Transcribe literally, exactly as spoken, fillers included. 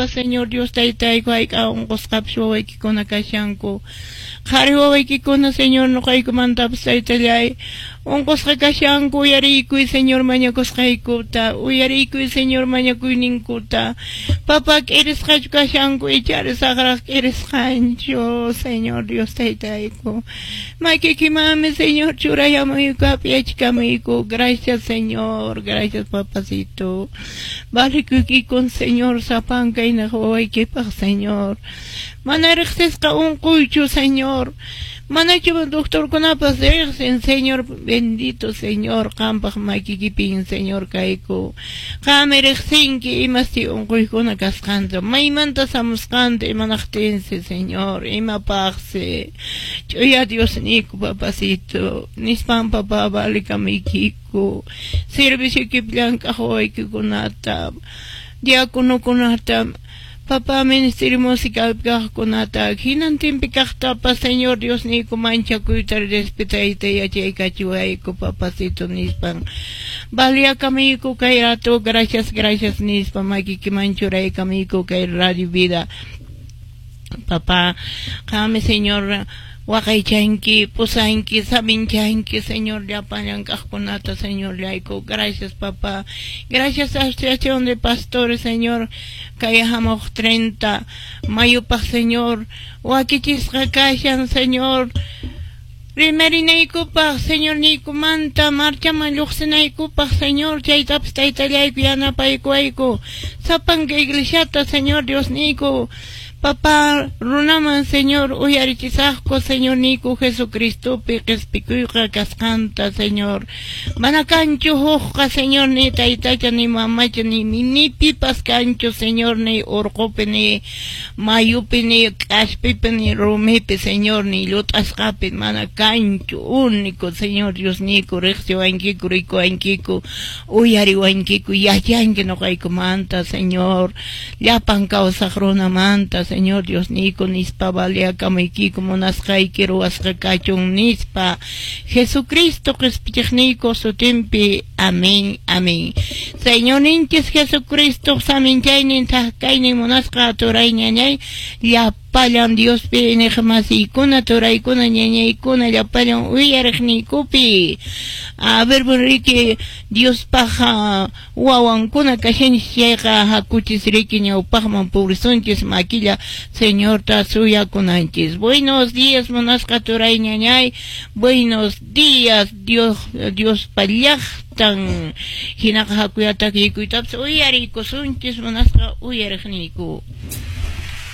Papa, Señor Dios taytayku, hayk'a unqusqapas wawaykikuna kashanku. Qhari wawaykikuna, Señor, nuqaykumantapas taytallay unqusqa kashanku, uyariykuy, Señor, mañakusqaykuta, uyariykuy, Señor, mañakuyninkuta. Papa, k'irisqachu kashanku, ichari saqraq k'irisqanchu, Señor Dios taytayku. Makiykimanmi, Señor, churayamuyku, apyachikamuyku. Gracias, Señor, gracias, papacito. Valikuykikun, Señor, sapanka inaq wawaykipaq, Señor. Mana riqsisqa unquychu, Señor. Manachu doctorkunapas riqsin, Señor, bendito Señor, qampaq makiykipin, Señor, kayku. Qami riqsinki imasi unquykuna kasqanta, maymanta samusqanta, imanaqtinsi, Señor, imapaqsi. Ch'uya Diosniyku, papacito, nispan, papá, valikamuykiku. Servicioykipi llank'aq wawaykikunata, diáconokunata, papá, ministerio musical kaqkunata, hinantinpi kaqtapas, Señor Diosniyku, manchakuyta, respetayta yachaykachiwayku, papacito, nispan. Valiakamuyku kay rato, gracias, gracias nispa, makiykiman churaykamuyku kay Radio Vida. Papá, qami, Señor, waqaychanki, pusanki, saminchanki, Señor, llapan llank'aqkunata, Señor, llayku. Gracias, papá. Gracias, Asociación de Pastores, Señor, kay hamuq treinta mayupaq, Señor, wakichisqa kashan, Señor. Rimarinaykupaq, Señor, niykumanta marchaman lluqsinaykupaq, Señor, chaytapas taytallayku yanapaykuwayku. Sapanka iglesiata, Señor Dios niyku, papá, runaman, Señor, uyarichisaqku, Señor niyku, Jesucristopi qhispikuyqa kasqanta, Señor. Mana kanchu hukqa, Señor, ni taytacha, ni mamacha, ni, ni pipas kanchu, Señor, ni urqupi, ni mayupi, ni k'aspipi, ni rumipi, Señor, ni llut'asqapi, mana kanchu, único, Señor Dios niyku, riqsiwankiku, rikuwankiku, uyariwankiku, yachanki nuqaykumanta, Señor, llapan kawsaq runamanta, Señor Dios niyku, nispa valiakamuykiku, munasqayki ruwasqa kachun nispa, Jesucristo qispichiqniyku sutinpi, amén, amén. Señorninchis Jesucristo saminchaynin thak-kaynin munasqa turay ñañay, llapallan Diospi iñiqmasiykuna, turaykuna, ñañaykuna, llapallan uyariqniykupi. A ver, riki, Diospaq wawankuna kashanchis chayqa, hakuchis riki ñawpaqman purisunchis, makilla Señorta suyakunanchis. Buenos días, munasqa turay ñañay. Buenos días, Dios, Diospa llaqtan. Hinaqa hakuyataq yakuytapas uyariykusunchis, munasqa uyariqniyku.